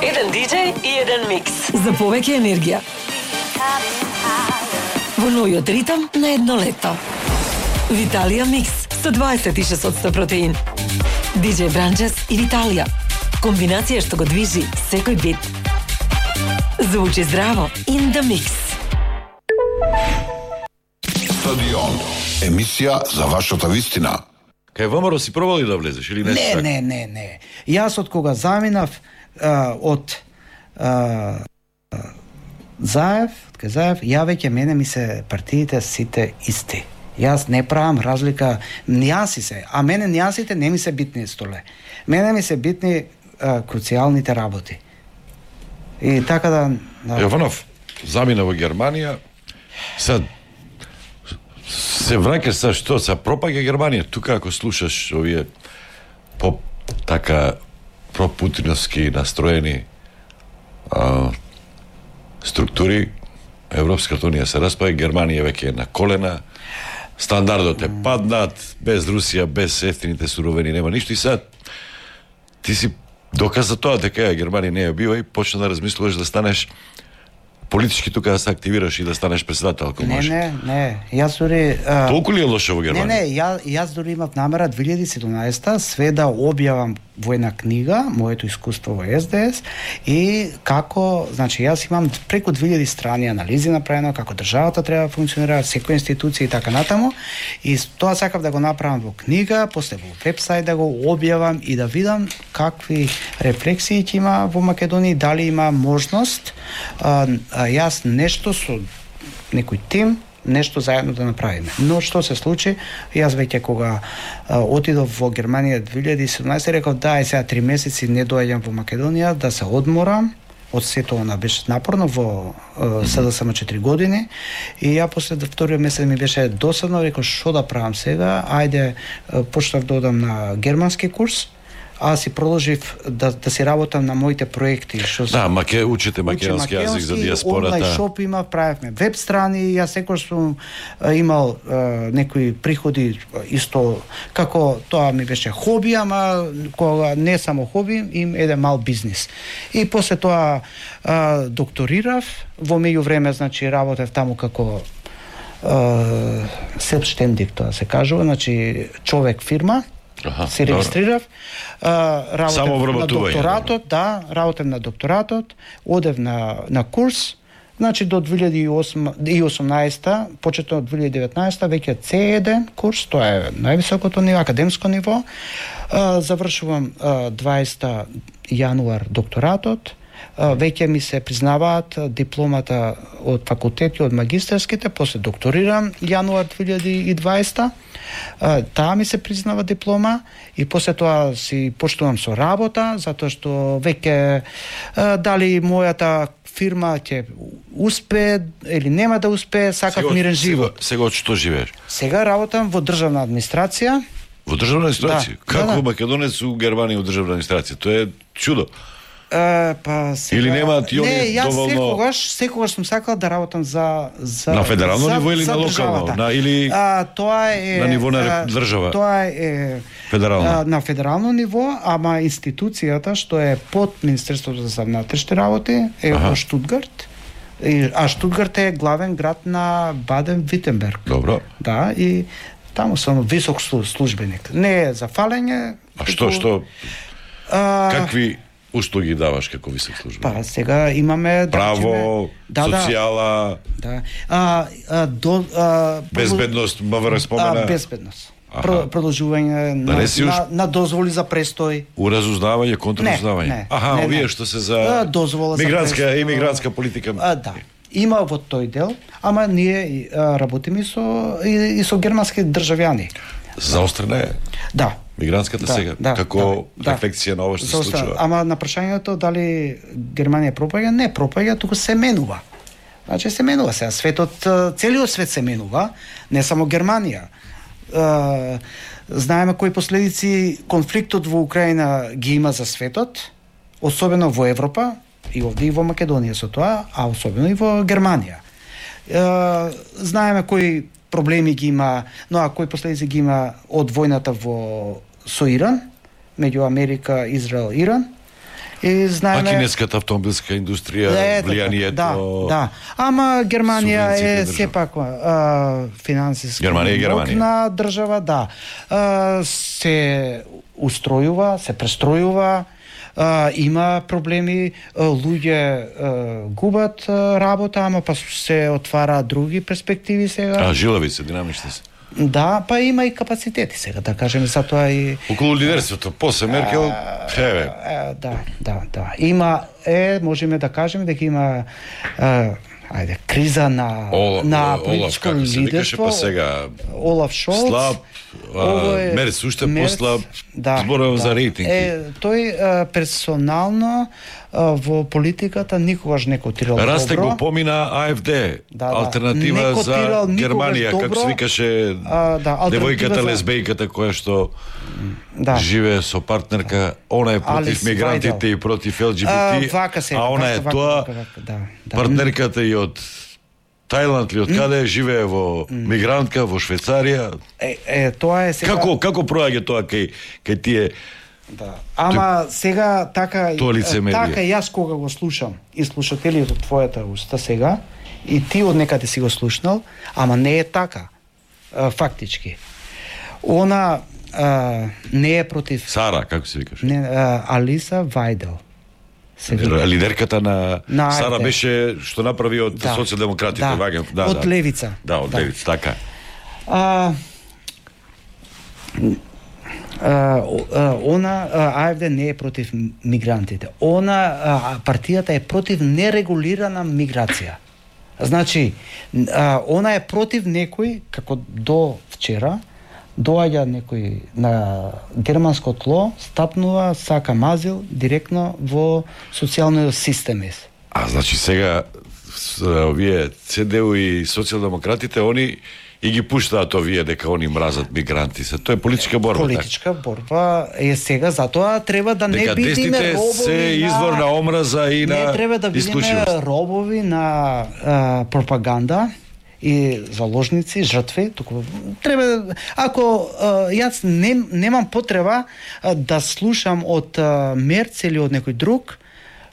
Еден диџеј и еден микс. За повеќе енергија. Во новиот ритам на едно лето. Виталија Микс со дваесет и шест одсто протеин. диџеј Бранџес и Виталија. Комбинација што го движи секој бит. Звучи здраво in the mix. Стадион. Емисија за вашата вистина. Кај ВМРО си пробали да влезеш или не? Не, не, не, не. Јас од кога заминав а, од а, Заев, од кај Заев, ја веќе мене ми се партиите сите исти. Јас не правам разлика, нијанси се, а мене нијансите не ми се битни столе. Мене ми се битни а, круцијалните работи. И така да... да. Јованов замина во Германија, сад се враќаш са што, са пропаѓа Германија. Тука ако слушаш овие по така пропутиновски настроени а, структури, Европската унија се распаѓа, Германија веќе е на колена, стандардот е паднат, без Русија, без ефтините суровини нема ништо и сад ти си доказа тоа дека Германија не ја бива и почна да размислуваш да станеш политички тука да се активираш и да станеш председател, ако не, може. Не, не, јас дури... А... Толку ли е лошо во Германија? Не, не, ја, јас дури имав намера две илјади и седумнаесета све да објавам во една книга, моето искуство во Ес Де Ес и како, значи јас имам преку две илјади страни анализи направено како државата треба да функционира, секоја институција и така натаму и тоа сакав да го направам во книга, после во вебсајт да го објавам и да видам какви рефлексии ќе има во Македонија, дали има можност а, а јас нешто со некој тим нешто заедно да направиме. Но што се случи, јас веќе кога а, отидов во Германија две илјади и седумнаесета реков да, е сега три месеци не доаѓам во Македонија да се одморам од сето она беше напорно во Се Де Ес Ем четири години и ја после вториот месец ми беше досадно, реков што да правам сега, ајде почнав да одам на германски курс. Аз си продолжив да, да си работам на моите проекти. Што да, маке, учите македонски јазик за диаспората. Онлайн шоп има, правевме веб страни, јас секој сум а, имал а, некои приходи исто, како тоа ми беше хоби, ама кога не само хоби, им еден мал бизнис. И после тоа а, докторирав, во меѓувреме, значи, работев таму како селфштендик, тоа се кажува, значи, човек фирма, Аха, се регистрирав, а, работев на докторатот, да, работев на докторатот, одев на, на курс, значи до две илјади и осумнаесета, почетно од две илјади и деветнаесета, веќе Це еден курс, тоа е највисокото ниво, академско ниво, а, завршувам а, дваесета јануар докторатот, а, веќе ми се признаваат дипломата од факултети, од магистерските, после докторирам јануар две илјади и дваесета, таа ми се признава диплома и после тоа си почнувам со работа, затоа што веќе дали мојата фирма ќе успее или нема да успее, сакав мирен живот. Сега, сега од што живееш? Сега работам во државна администрација. Во државна администрација? Да, Како да, да. македонец у Германија во државна администрација? Тоа е чудо. Uh, па сега... Или немаат и не, јас доволно... секогаш, секогаш сум сакал да работам за, за на федерално за, ниво или на локално, на или а, тоа е на ниво на а, држава. Тоа е федерално. А, на федерално ниво, ама институцијата што е под Министерството за внатрешни работи е во Штутгарт. И, а Штутгарт е главен град на Баден-Витенберг. Добро. Да, и таму сум висок службеник. Не е за фалење. А што, што? А, Какви услуги даваш како висок службеник? Па сега имаме право, да, социјала, да. А, а, до, а, безбедност, МВР спомена. А, безбедност. Про, продолжување на, не си уш... на, на дозволи за престој. Уразузнавање, контраузнавање. Не, не, Аха, не, овие не. што се за дозвола мигрантска за и мигрантска политика. А, да. Има во тој дел, ама ние а, работиме со и, и со германски државјани. Заострена е. Да. Мигрантската да, сега, да, како да, рефлексија на ова што се Заостра... случува. Ама на прашањето дали Германија пропаѓа, не пропаѓа, туку се менува. Значи се менува сега, светот, целиот свет се менува, не само Германија. Uh, знаеме кои последици конфликтот во Украина ги има за светот, особено во Европа, и овде и во Македонија со тоа, а особено и во Германија. Uh, знаеме кои проблеми ги има, но а кои последици ги има од војната во со Иран, меѓу Америка, Израел, Иран. И знаеме... А кинеската автомобилска индустрија, е, влијанието... Да, да. Ама Германија е сепак а, финансиски Германија, Германија. мокна држава, да. А, се устројува, се престројува, а, има проблеми, а, луѓе а, губат а, работа, ама па се отвара други перспективи сега. А, жилави се, динамични се. Да, па има и капацитети сега, да кажеме, затоа и... Околу лидерството, после Меркел, еве. Да, да, да. Има, е, можеме да кажеме дека има, е, ајде, криза на, Ола, на Олаф, политичко како се викаше, лидерство. па сега... Олаф Шолц. Слаб, а, е, Мерц уште Мерц, послаб, да, зборувам да. за рейтинг. Е, тој а, персонално а, во политиката никогаш не котирал добро. Расте го помина АФД, Да, да. алтернатива Не за котирал никогаш Германија, како добро. се викаше А, да, алтернатива девојката за- лесбејката која што Да. живее со партнерка, она е против Алис мигрантите Вајдел. и против ел џи би А, ти, вака се, а она е вака, тоа, вака, вака, да, да. партнерката и од Тајланд или од каде живее во мигрантка во Швейцарија. Е, е, тоа е сега... Како како проаѓа тоа кај кај тие? Да. Ама сега така Тоа лицемерие. така јас кога го слушам и слушателите од твојата уста сега и ти од некаде си го слушнал, ама не е така. А, фактички. Она а, не е против Сара, како се викаш? не а, Алиса Вајдел. Се вика. Лидерката на, На Сара АФД. беше што направи од Да. социјалдемократите, Да. ваѓам, да, Од да. левица. Да, од Да. левица, така. А, а, о- а, она а, АФД не е против мигрантите. Она а, партијата е против нерегулирана миграција. Значи, а, она е против некој, како до вчера, доаѓа некој на германско тло, стапнува, сака мазил директно во социјалниот систем. А значи сега с- овие Це Де У и социјалдемократите, они и ги пуштаат овие дека они мразат мигранти. Се тоа е политичка борба. Политичка борба е сега, затоа треба да не Дека бидеме десните робови се на... извор на омраза и на Не треба да бидеме исклучивост. робови на а, пропаганда и заложници, жртви, туку треба ако а, јас не, немам потреба а, да слушам од а, Мерц или од некој друг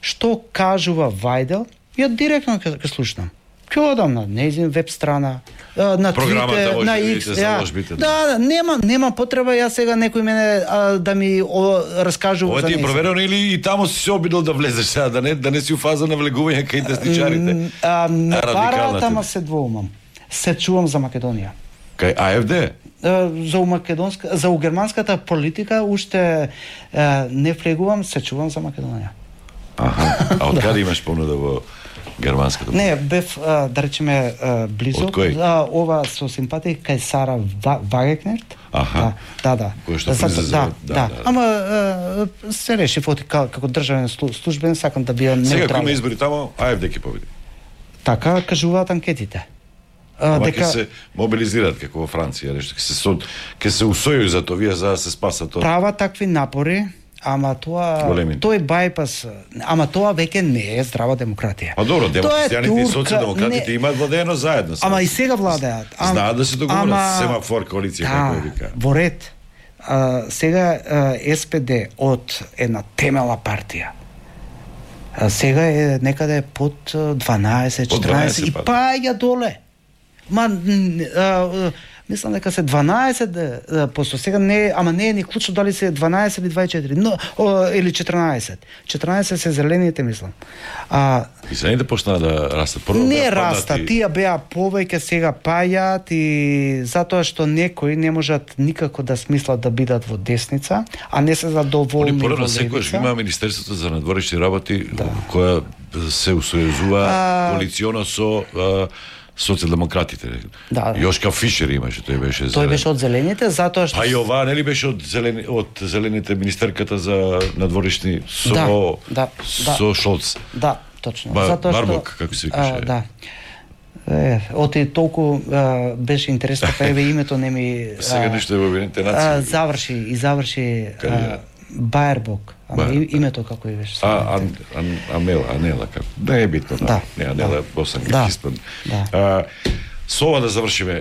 што кажува Вајдел, ја директно ќе ќе слушнам. Ќе одам на нејзин веб страна, а, на Програмата Twitter, може на да X, видите ја. заложбите, да. Да, да, нема нема потреба јас сега некој мене а, да ми о, раскажува Ова за ти е нејзин. проверено или и таму си се обидел да влезеш сега, да не, да не си у фаза на влегување кај десничарите? А, не Радикалната. бараат, ама се двоумам. Се чувам за Македонија. Кај АФД? А, За у македонска, за у германската политика уште а, не влегувам, се чувам за Македонија. Аха. А од каде имаш понуда во германската? Не, бев, а, да речеме, а, близо. Од кој? А, ова со симпатија кај Сара Ва- Вагекнерт. Аха. Да, да. Кој што Зато- влиза за- да, да, да, да. Ама а, се реши фоти како државен слу- службен, сакам да бидам Сега ако има неутрален. избори таму, АФД ќе победи. Така кажуваат анкетите. А, Ама дека ќе се мобилизираат како во Франција, нешто ќе се сод, ќе се усојуju за тоа вие за да се спасат тоа. прават такви напори, ама тоа Големи. тој бајпас, ама тоа веќе не е здрава демократија. А добро, Тоа е демократијаните и турка, социјалдемократите не- имаат владеено заедно. сега. Ама и сега владеат. Ам- Знаат да се договорат, ама- семафор, коалиција, како ја вика. во ред. А, сега а, С П Д од една темела партија. А, сега е некаде под а, дванаесет Под четинаесет и дванаесет паѓа доле. Ма н- а, а, Мислам дека се дванаесет, е, посто сега не, ама не е ни клучно дали се дванаесет или дваесет и четири, но о, или четрнаесет. четрнаесет се зелените, мислам. А и зелените почнаа да растат. Прво не беа раста, паднати. тие беа повеќе, сега пајат и затоа што некои не можат никако да смислат да бидат во десница, а не се задоволни Они во порано секојаш левица. има Министерството за надворешни работи која се усојузува А- коалиционо со а, социјалдемократите. Да. Јошка Фишер имаше, тој беше Тој зелен. беше од зелените, затоа што А и ова нели беше од зелени, од зелените министерката за надворешни со Да, да, да. со Шолц. Да, точно. Ба- Затоа што Барбок, како се викаше. а, да. Е, оти толку а, беше интересно, па еве името не ми Сега а, ништо е во Обединетите а, нации. заврши и заврши Каде а, е? Баербок. Ама Баер, и- името како и беше. А, ан, ан, Амела, Анела, како. Не е битно, да. Да, Не, Анела, да. босанка, Да, испан. да. А, со ова да завршиме.